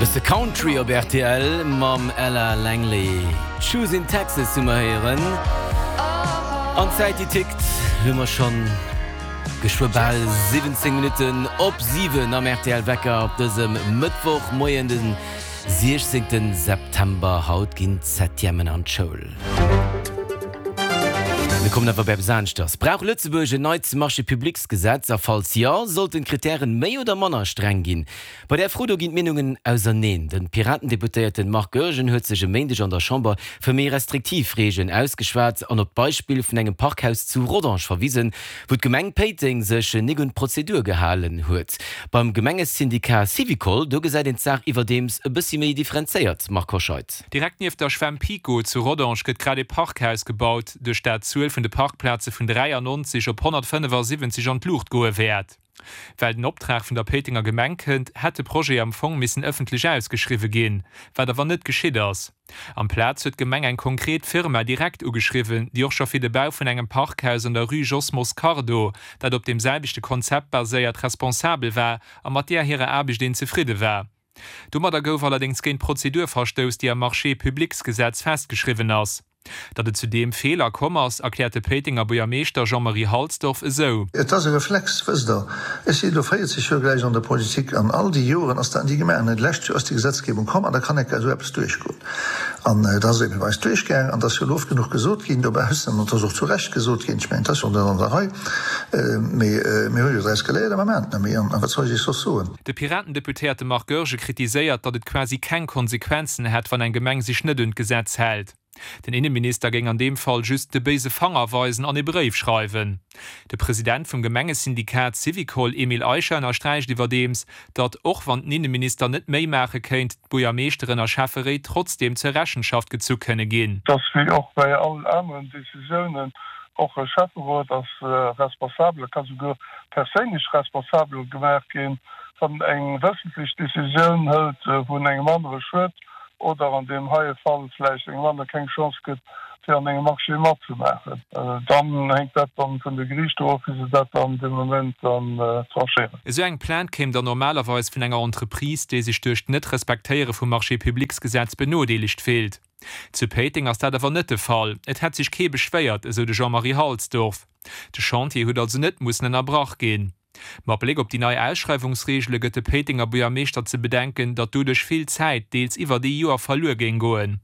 Bësse Country op rtl mam Ella Langley. Choosing Texas hu mer héieren. An d'Zäit déi tickt, hu mer schonn geschwë bal 17 Minutten op 7 am rtl Wecker op dësem Mëttwochmoien, de 16 September. Haut ginn d'Septièmen an d'Schoul. Mir kommen awer op eppes aneschters. Brauch Lëtzebuerg en neit Marché-publics-Gesetz? A falls jo, sollten d'Krittären méi oder manner streng ginn? Bei där Fro do ginn d'Meenungen auserneen. De Piraten-Deputéierten Marc Goergen huet sech e Méindeg an der Chamber fir méi restriktiv Reegelen ausgeschwat an op d'Beispill vun engem Parkhaus zu Rodange verwisen, wou d'Gemeng Péiteng sech nik un d'Prozedur gehalen huet. Beim Gemengesyndikat Syvicol, do gesäit een d'Saach iwwerdeems e bëssi méi differenzéiert. Marc Hoscheid. Direkt nieft der Schwämm Pico zu Rodange gëtt grad ee Parkhaus gebaut, duerch dat d'Zuel vun de Parkplaze vun 93 op 175 an d'Luucht goe wäert. Well den Optrag vun der Péitenger Gemeng kënnt, hätt de Projet am Fong missen ëffentlech ausgeschriwwe ginn, wat awer net geschitt ass. Amplaz huet d'Gemeng eng konkret Firma direkt ugeschriwwen, déi och scho fir de Bau vun engem Parkhaus an der Rue Jos Moscardo, dat op deem selwechte Konzept baséiert, responsabel war a mat där hirer Aarbecht een zefridde war. Domadder gouf allerdéngs géint d'Prozedur verstouss, déi am Marchés-publics-Gesetz festgeschriwwen ass. Datt et zu deem Feeler komm ass, erkläert de Péitenger Buergermeeschter Jean-Marie Halsdorf esou. Et ass e Reflex, wësst Der. Ech sinn elo 40 Joer gläich an der Politik an all déi Joren ass dat ni gemaach. An d'lescht Joer ass déi Gesetzgebung komm an da kann enker esou eppes duerchgoen. An et ass ebe bei eis duerchgaangen an et ass jo elo oft genuch gesot ginn dobaussen an et ass och zu Recht gesot ginn, ech mengen, et ass jo net an der Rei, mee mir hu jo draus geléiert a mer maachen et net méi. An wat soll ech Iech soss soen? De Piraten-Deputéierte Marc Goergen kritiséiert, datt et quasi keng Konsequenzen hätt, wann eng Gemeng sech net un d'Gesetz hält. Den Inneminister géing an deem Fall just de béise Fanger weisen an ee Bréif schreiwen. De President vum Gemengesyndikat Syvicol, Emile Eicher, ënnersträicht iwwerdeems, datt, och wann den Inneminister net méi maache kéint, d'Buergermeeschteren a Schäfferéit trotzdeem zur Rechenschaft gezu kënne ginn. Et ass wéi och bei all aneren Decisiounen, och e Schäfferot ass responsabel, e ka souguer perséinlech responsabel gemaach ginn, wann en eng wëssentlech Decisioun hëlt, wou en engem anere schued oder an deem heie Fall vläicht engem anere keng Chance gëtt, fir an engem Marché matzemaachen. Dann hänkt dat dann vun de Geriichter of, wéi se dat dann dee Moment dann tranchéieren. Esou eng Plainte kéim dann normalerweis vun enger Entreprise, déi sech duerch d'Net-Respektéiere vum Marché-publics-Gesetz benodeelegt fillt. Zu Péiteng ass dat awer net de Fall. Et hätt sech kee beschwéiert, esou de Jean-Marie Halsdorf. De Chantier huet also net mussen ënnerbrach ginn. Mat Bléck op déi nei Ausschreiwungsreegele gëtt de Péitenger Buergermeeschter ze bedenken, datt doduerch vill Zäit, deels iwwert ee Joer, verluer géing goen.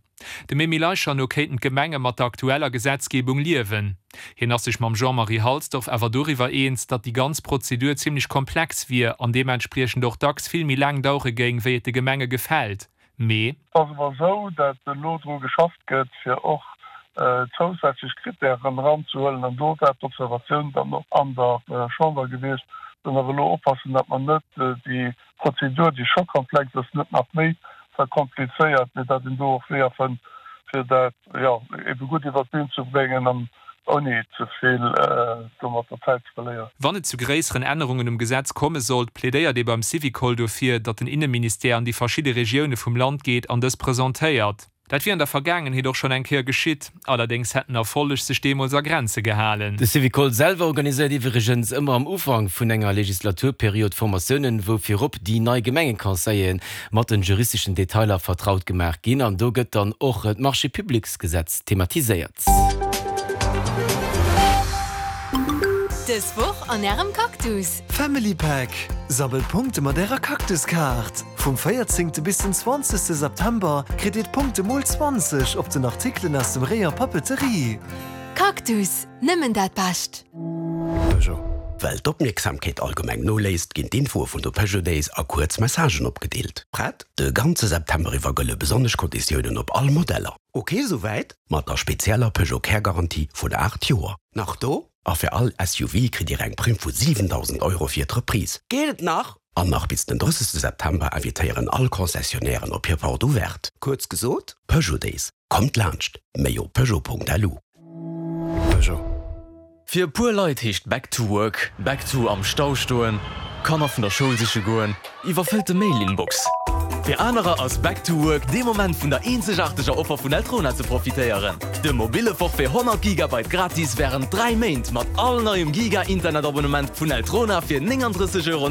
Dem Emile Eicher no kéinten d'Gemenge mat der aktueller Gesetzgebung liewen. Hien ass sech mam Jean-Marie Halsdorf awer doriwwer eens, datt déi ganz Prozedur zimmlech komplex wier an deementspriechend och dacks vill méi laang dauere géing, wéi et de Gemenge gefält. Mee. Et ass awer esou, dat elo dru geschafft gëtt, fir och zousätzlech Kritären eranzehuelen, an do war d'Observatioun dann och an der Chamber gewiescht, datt mer elo oppassen, datt mer net déi Prozedur, déi scho komplex ass, net nach méi verkomplizéiert, mee datt een do och Weeër fënnt, fir dat, jo, ebe gutt iwwert d'Bün ze bréngen an ouni ze vill domatter Zäit ze verléieren. Wann et zu gréisseren Ännerungen um Gesetz komme sollt, plädéiert ee beim Syvicol dofir, datt den Inneministère an déi verschidde Regioune vum Land geet an dës presentéiert. Dat wier an der Vergaangenheet och schonn eng Kéier geschitt, allerdéngs hätt den Erfolleg sech deemools a Grenze gehalen. De Syvicol selwer organiséiert iwwregens ëmmer am Ufank vun enger Legislaturperiod Formatiounen, wou virop déi nei Gemengeconseilleren mat den juristeschen Detailer vertraut gemaach ginn. An do gëtt dann och d'Marchés-publics-Gesetz thematiséiert. Dës Woch an Ärem Cactus! Family Pack, Sammelt Punkte mat ärer Cactus-Kaart! Vum 14 bis den 20 September kritt dir d'Punkte mol 20 op den Artikelen aus dem Rayon Papeterie. Cactus, nëmmen dat Bescht! Peugeot. Well d'Opmierksamkeet allgemeng noléisst, ginn d'Infoe vun de Peugeot Days a kuerz Messagen opgedeelt. Prett? De ganze September iwwer gëlle besonnesch Konditiounen op all Modeller. Ok souwäit? Mat der spezieller Peugeot Care Garantie vun 8 Joer. Nach do? A fir all SUV kritt Dir eng Primm vu 7.000 Euro fir d'Reprise. Geet et nach? An nach bis den 30 September invitéieren all Concessionnairen op hir Porte Ouverte. Kuerz gesot, Peugeot Days, kommt laanscht! Méi op peugeot.lu. Peugeot. Fir e puer Leit heescht Back to work, back to am Stau stoen, Kanner vun der Schoul siche goen, iwwerfëllte Mail-Inbox. Fir anerer ass Back to Work dee Moment vun der eenzegaarteger Offer vun Eltrona ze profitéieren. De mobille Forfait 100 Gigabyte gratis wärend 3 Méint mat all neiem Giga-Internet-Abonnement vun Eltrona fir 39,99 Euro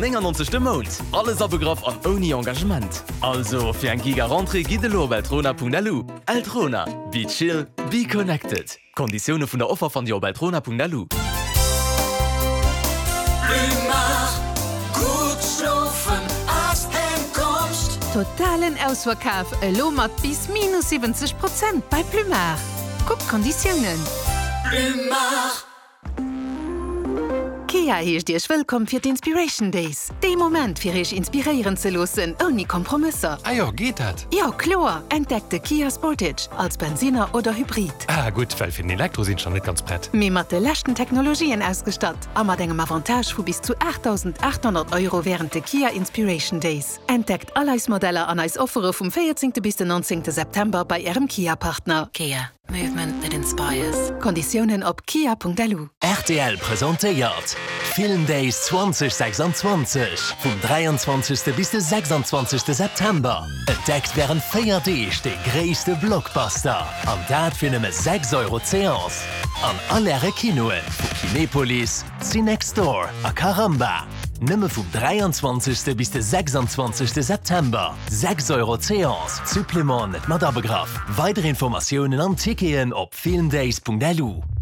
de Mount. Alles abegraff an ouni Engagement. Also fir eng Giga-Rentrée gitt elo op eltrona.lu. Eltrona, be chill, be connected. D'Konditioune vun der Offer fannt Dir op eltrona.lu. Totalen Ausverkaf elo mat bis minus 70 Prozent bei Plumard. Kuckt d'Konditiounen. Kia heescht Iech wëllkomm fir d'Inspiration Days, dee Moment fir Iech inspiréieren ze loossen, ouni Kompromësser. Ah jo, geet dat? Jo, kloer! Entdeckt de Kia Sportage als Bensinner oder Hybrid. Ah gutt, well fir den Elektro sinn ech nach net ganz prett. Mee mat de leschten Technologien ausgestatt a mat engem Avantage vu bis zu 8.800 Euro wärend de Kia Inspiration Days. Entdeckt all eis Modeller an eis Offere vum 14. bis den 19. September bei Ärem Kia-Partner. Kia. Movement that inspires. Konditiounen op kia.lu. Rtl presentéiert Film Days 2026 vum 23. bis de 26. September. Entdeckt wärend 4 Deeg de gréisste Blockbuster an dat fir nëmme 6 Euro d'Seance an all Äre Kinoen vu Kinepolis, Cinextdoor a Caramba. Nëmme vum 23. bis de 26. September. 6 Euro d'Seance, Supplément net mat abegraff. Weider Informatiounen an Ticketen op filmdays.lu.